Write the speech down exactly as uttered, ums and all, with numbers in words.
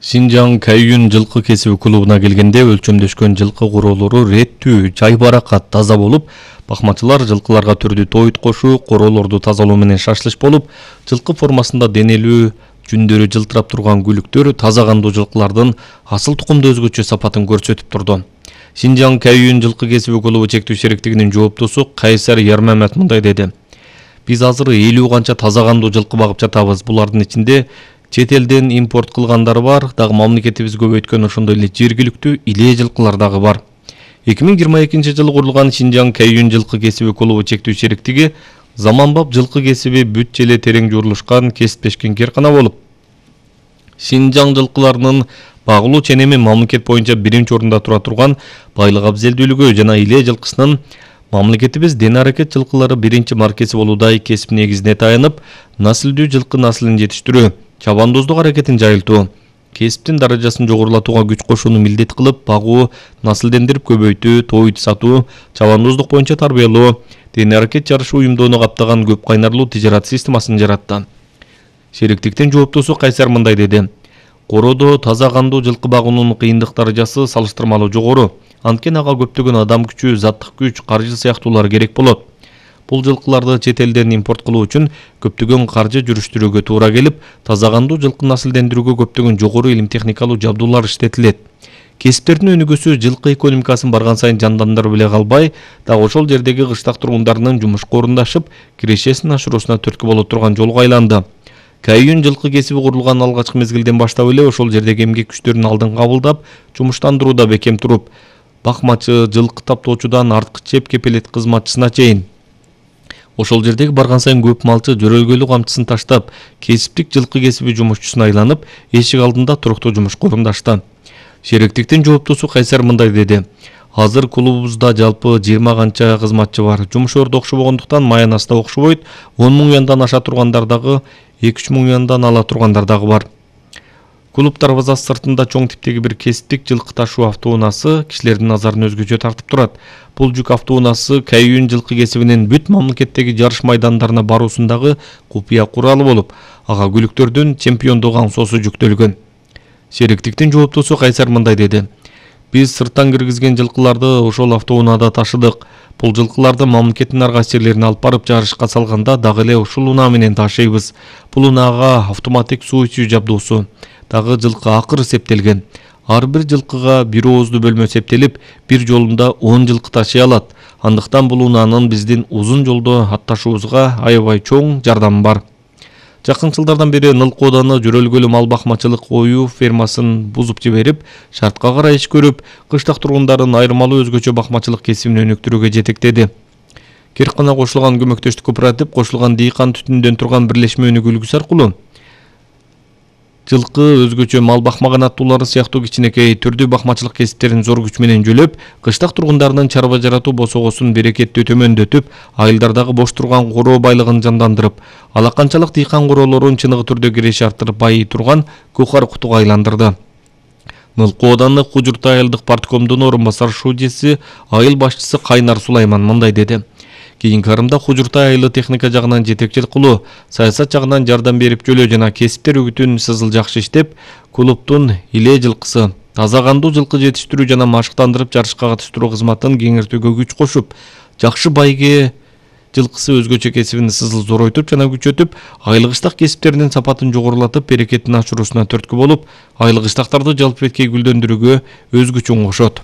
Синжан Кайюн жылкы кесиби клубуна келгенде өлчөмдөшкөн жылкы короолору реттүү, жай баракат, таза болуп, бакмачылар жылкыларга түрдүү тоют кошуу, короолорду тазалоо менен шашлыш болуп, жылкы формасында денелүү, жүндөрү жылтырап турган күлүктөр таза кандуу жылкылардын асыл тукумду өзгөчө сапатын көрсөтүп турду. Синжан Кайюн жылкы кесиби клубу чектүү шериктигинин жооптосу Кайсар Ярмамет мындай деди: Биз азыр элүү канча таза кандуу жылкы багып жатабыз. Булардын ичинде чет элден импорт кылгандары бар, дагы мамлекетибиз көбөйткөн ошондой эле жергиликтүү илээ жылкылар дагы бар. эки миң жыйырма экинчи жылы курулган Синжан Кайюн жылкы кесиби клубу чектүү шериктиги заманбап жылкы кесиби бүт желе терең журулушкан кесиптешкен кээркана болуп, Синжан жылкыларынын багылуу ченеми мамлекет боюнча биринчи орунда тура турган байлык абзелдүүлүгү жана илээ жылкысынын мамлекетибиз ден аракет жылкылары биринчи маркеси болуудай кесип негизине таянып, наслдүү жылкы наслын жетиштирүү, чабандоздук аракетин жайылтуу, кесиптин даражасын жогорулатууга күч кошууну милдет кылып, багуу, наслдендирип көбөйтүү, тоют сатуу, чабандоздук боюнча тарбиялоо, ден аракет жарышы уюмдоону каптаган көп кайнарлуу тижарат системасын жаратты. Шериктиктин жооптосу Кайсар мындай деди: Короодо таза кандуу жылкы багуунун кыйындык даражасы салыштырмалуу жогору. Анткени ага көптөгөн адам күчү, заттык күч, каржы сыяктуулар керек болот. Бул жылкыларды чет элден импорт кылуу үчүн көптөгөн каржы жүрүштүрүүгө туура келип, таза кандуу жылкы наслдендирүүгө көптөгөн жогору илим техникалуу жабдуулар иштетилет. Кесиптердин өнүгүүсү жылкы экономикасын барган сайын жандандырып эле калбай, дагы ошол жердеги кыштак тургундарынын жумушка орундашып, кирешесин ашыруусуна түрткү боло турган жолго айланды. Кайюн жылкы кесиби курулган алгачкы мезгилден баштап эле ошол жердеги эмгек күчтөрүн алдын кабылдап, жумуштандырууда бекем туруп, бакмачы, жылкы таптоочудан арткы чеп кепелет кызматчысына чейин ошол жердеги барган сайын көп малчы жөрөлгөлүү камчысын таштап, кесиптик жылкы кесиби жумушчусуна айланып, эшик алдында туруктуу жумушка орундашты. Шериктиктин жооптосу Кайсар мындай деди: Азыр клубубузда жалпы жыйырма канча кызматчы бар. Жумуш орду окшобогондуктан Майанаста окшобойт, он миң яндан аша тургандар дагы, эки үч миң яндан ала тургандар дагы бар. Клуб дарбазасы сыртында чоң типтеги бир кесиптик жылкы ташуу автоунаасы кишилердин назарын өзгөчө тартып турат. Бул жүк автоунаасы Кайюн жылкы кесибинин бүт мамлекеттеги жарыш майдандарына баруусундагы купуя куралы болуп, ага күлүктөрдүн чемпиондук аңсоосу жүктөлгөн. Шериктиктин жооптосу Кайсар мындай деди: Биз сырттан киргизген жылкыларды ошол автоунаада ташыдык. Бул жылкыларды мамлекеттин ар кайсы жерлерине алып барып жарышка салганда дагы эле ушул унаа менен ташыйбыз. Бул унаага автоматик суу ичүү жабдуусу, дагы жылкы акыр септелген. Ар бир жылкыга бир ооздуу бөлмө септелип, бир жолунда он жылкы ташый алат. Андыктан бул унаанын биздин узун жолдо атташуубузга аябай чоң жардамы бар. Жакын жылдардан бери Нылкы ооданы жөрөлгөлүү мал бакмачылык ою фермасын бузуп жиберип, шартка карай иш көрүп, кыштак тургундарын айырмалуу өзгөчө бакмачылык кесибин өнүктүрүүгө жетектеди. Киркана кошулган көмөктөштүк кооператив кошулган дыйкан түтүндөн турган бирлешме өнүгүүлүгү аркылуу жылкы, өзгөчө мал бакмаган аттуулары сыяктуу кичинекей түрдүү бакмачылык кесиптерин зор күч менен жөлөп, кыштак тургундарынын чарба жаратуу босогосун берекеттүү төмөндөтүп, айылдардагы бош турган короо байлыгын жандандырып, ала канчалык дыйкан короолорун чыныгы түрдө киреше арттырып байый турган кухар кутуга айландырды. Нылкы ооданы Кужуртай айылдык парткомдун орун басар шуудеси, айыл башчысы Кайнар Сулайман мындай деди: Кийинки арымда Кужуртай айылы техника жагынан жетекчилик кылуу, саясат жагынан жардам берип жөлөө жана кесиптер үгүтүн сызыл жакшы иштеп, клубдун илээ жылкысы, таза кандуу жылкы жетиштирүү жана машыктандырып жарышка катыштыруу кызматын кеңиртүүгө күч кошуп, жакшы байге жылкысы өзгөчө кесибин сызыл зоройтуп жана күчөтүп, айыл кыштак кесиптеринин сапатын жогорулатып, берекетин ашыруусуна түрткү болуп, айыл кыштактарды жалпы эткей гүлдөндүрүүгө өз күчүн кошот.